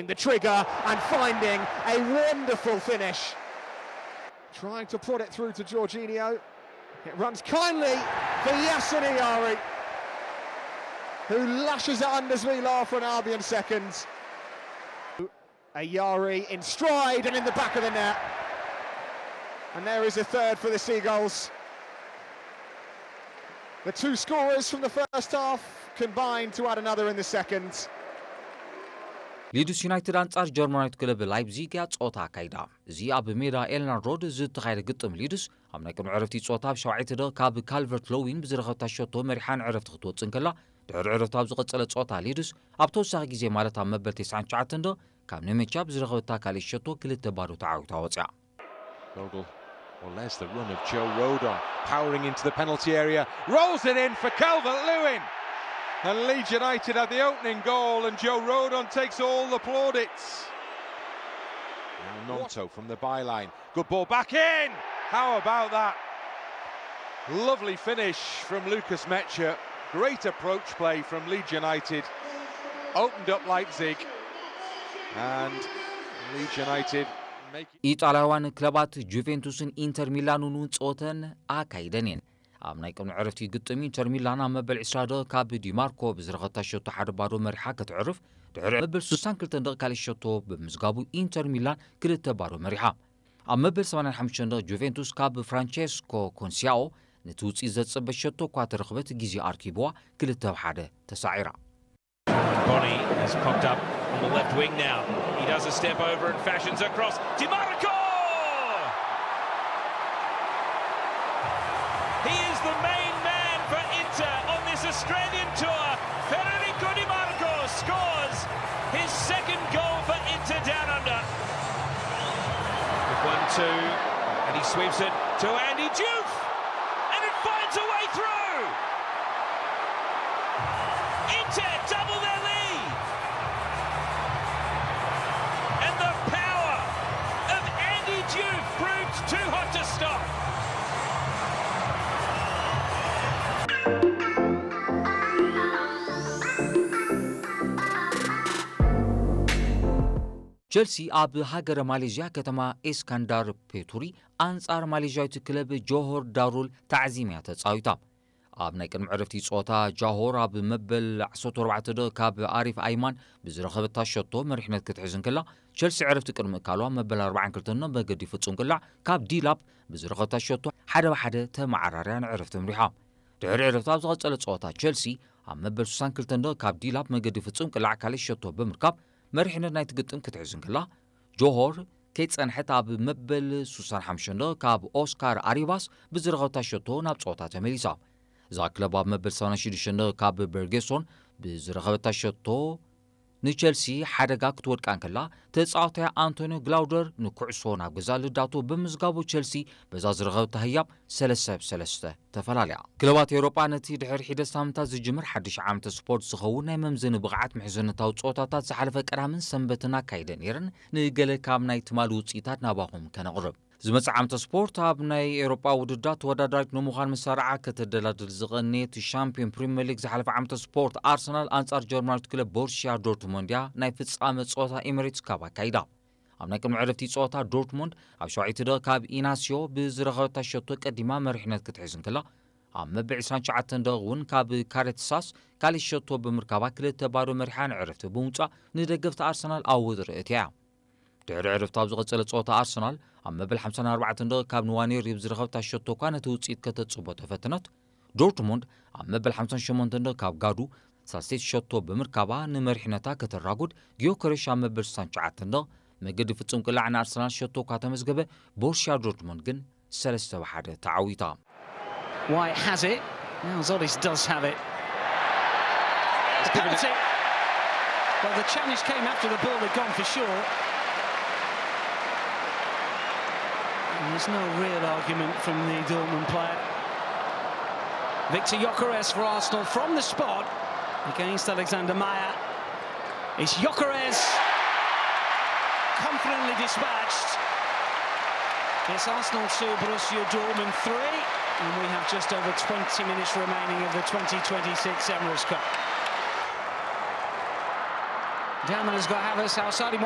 the trigger and finding a wonderful finish. Trying to prod it through to Jorginho. It runs kindly for Yasin Ayari, who lashes at Anders Villar for an Albion second. Ayari in stride and in the back of the net. And there is a third for the Seagulls. The two scorers from the first half combined to add another in the second. ሊድስ ዩናይትድ ኣንጻር ጀርመናዊት ክለብ ላይፕዚግ እያ ጾታ ኣካይዳ። እዚ ኣብ ሜዳ ኤልናን ሮድ ዝተኻየደ ግጥም ሊድስ ኣብ ናይ ቅድሚ ዕረፍቲ ጾታ ኣብ ሸውዓይቲ ደቂቕ ካብ ካልቨርት ሎዊን ብዝረኸብታ ሸቶ መሪሓ ንዕረፍቲ ክትወጽእ እንከላ፣ ድሕሪ ዕረፍቲ ኣብ ዝቐጸለ ጾታ ሊድስ ኣብ ተወሳኺ ግዜ ማለት ኣብ መበል ተስዓን ትሽዓተን ደቂቕ ካብ ኔሜቻ ብዝረኸበታ ካልእ ሸቶ ክልተ ባዶ ተዓዊታ ወጽያ። Bogle. Well, there's the run of Joe Rodon, powering into the penalty area, rolls it in for Calvert Lewin. And Leeds United had the opening goal, and Joe Rodon takes all the plaudits. Now Gnonto from the byline. Good ball back in! How about that? Lovely finish from Lucas Mecha. Great approach play from Leeds United. Opened up Leipzig. And Leeds United making. ኢጣልያውያን ክለባት ጁቬንቱስን ኢንተር ሚላንን እውን ጸወተን ኣካይደን እየን። ኣብ ናይ ቅድሚ ዕረፍቲ ግጥም ኢንተር ሚላን ኣብ መበል ዕስራ ደቂቕ ካብ ዲማርኮ ብዝረኸብታ ሸቶ ሓደ ባዶ መሪሓ ክትዕርፍ፣ ድሕሪ መበል ስሳን ክልተን ደቂቕ ካልእ ሸቶ ብምዝጋቡ ኢንተር ሚላን ክልተ ባዶ መሪሓ። ኣብ መበል ሰማንያን ሓሙሽተን ደቂቕ ጁቬንቱስ ካብ ፍራንቸስኮ ኮንሲያኦ ነቲ ውጽኢት ዘጸበ ሸቶ እኳ ተረኽበት፣ ግዜ ኣርኪብዋ ክልተ ብ ሓደ ተሳዒራ። Bony has popped up on the left wing now. He does a step over and fashions across. Dimarco! He is the main man for Inter on this Australian tour. Federico Dimarco scores his second goal for Inter Down Under. With one two, and he sweeps it to Andy Diouf, and it finds a way through. Inter double their lead. And the power of Andy Diouf proved too hot to stop. ቸልሲ ኣብ ሃገረ ማሌዥያ ከተማ ኤስካንዳር ፔቱሪ ኣንጻር ማሌዥያዊት ክለብ ጆሆር ዳሩል ታዕዚም እያ ተጻዊታ። ኣብ ናይ ቅድሚ ዕረፍቲ ጸወታ ጃሆር ኣብ መበል ዓሰርተ ኣርባዕተ ደቂቕ ካብ ኣሪፍ ኣይማን ብዝረኸበታ ሸቶ መሪሕነት ክትሕዝ እንከላ፣ ቸልሲ ዕረፍቲ ቅድሚ እካሉ ኣብ መበል ኣርባዓን ክልተን መገዲ ፍጹም ቅላዕ ካብ ዲላፕ ብዝረኸበታ ሸቶ ሓደ ብ ሓደ ተመዓራርያ ንዕረፍቲ ኣምሪሓ። ድሕሪ ዕረፍቲ ኣብ ዝቐጸለ ጸወታ ቸልሲ ኣብ መበል ስሳን ክልተን ደቂቕ ካብ ዲላፕ መገዲ ፍጹም ቅላዕ ካልእ ሸቶ ብምርካብ መሪሕነት ናይቲ ግጥም ክትሕዝ እንከላ፣ ጆሆር ከይጸንሐት ኣብ መበል ስሳን ሓሙሽተን ደቂቕ ካብ ኦስካር ኣሪባስ ብዝረኸብታ ሸቶ ናብ ጸወታ ተመሊሳ። እዛ ክለብ ኣብ መበል ሰማንያን ሽዱሽተን ደቂቕ ካብ በርጌሶን ብዝረኸበታ ሸቶ ንቸልሲ ሓደጋ ክትወድቃ እንከላ፣ ተጻዋታያ ኣንቶኒዮ ግላውደር ንኩዕሶ ናብ ገዛ ልዳቶ ብምዝጋቡ ቸልሲ በዛ ዝረኸብታ ህያብ ሰለስተ ብ ሰለስተ ተፈላለያ። ክለባት ኤውሮጳ ነቲ ድሕሪ ሒደት ሳምንታት ዝጅምር ሓድሽ ዓመተ ስፖርት ዝኸውን ናይ መምዘኒ ብቕዓት ምሕዝነታዊ ጸወታታት ዝሓለፈ ቀዳምን ሰንበትን ኣካይደ ነይረን። ንገለ ካብ ናይ ትማሊ ውጽኢታት ናባኹም ከነቕርብ። ዝመጽእ ዓመተ ስፖርት ኣብ ናይ ኤውሮጳ ውድድራት ተወዳዳሪት ንምዃን መሳርዓ ከተደላድል ዝቐነየት ሻምፒዮን ፕሪምየር ሊግ ዝሓለፈ ዓመተ ስፖርት ኣርሰናል ኣንጻር ጀርመናዊት ክለብ ቦሩሲያ ዶርትሞንድ እያ ናይ ፍጻመ ጸወታ ኤሚሬትስ ካፕ ኣካይዳ። ኣብ ናይ ቅድሚ ዕረፍቲ ጸወታ ዶርትሞንድ ኣብ ሸውዓይቲ ደቂቕ ካብ ኢናስዮ ብዝረኸበታ ሸቶ ቀዲማ መሪሕነት ክትሕዝ እንከላ፣ ኣብ መበል ዕስራን ትሽዓተን ደቂቕ እውን ካብ ካሬትሳስ ካልእ ሸቶ ብምርካባ ክልተ ባዶ መሪሓ ንዕረፍቲ ብምውጻእ ንደገፍቲ ኣርሰናል ኣብ ወጥሪ እትያ። ድሕሪ ዕረፍቲ ኣብ ዝቐጸለ ጸወታ ኣርሰናል ኣብ መበል ሓምሳን ኣርባዕተን ደቂቕ ካብ ንዋኔሪ ብዝረኸብታ ሸቶ እኳ ነቲ ውጽኢት ከተጽቦ ተፈተነት። ዶርትሙንድ ኣብ መበል ሓምሳን ሸሞንተን ደቂቕ ካብ ጋዱ ሳልሰይቲ ሸቶ ብምርካባ ንመሪሕነታ ከተራጉድ፣ ጊዮከሬሽ ኣብ መበል ስሳን ትሽዓተን ደቂቕ መገዲ ፍጹም ቅላዕ ንኣርሰናል ሸቶ እኳ ተመዝገበ፣ ቦሩሲያ ዶርትሙንድ ግን ሰለስተ ብ ሓደ ተዓዊታ። White has it. Now Zodis does have it. It's penalty. Well, the challenge came after the ball had gone for sure. And there's no real argument from the Dortmund player. Victor Gyökeres for Arsenal from the spot against Alexander Meyer. It's Gyökeres, confidently dispatched. It's Arsenal two, Borussia Dortmund three, and we have just over twenty minutes remaining of the twenty twenty-six Emirates Cup. Hammond has got Havertz outside him.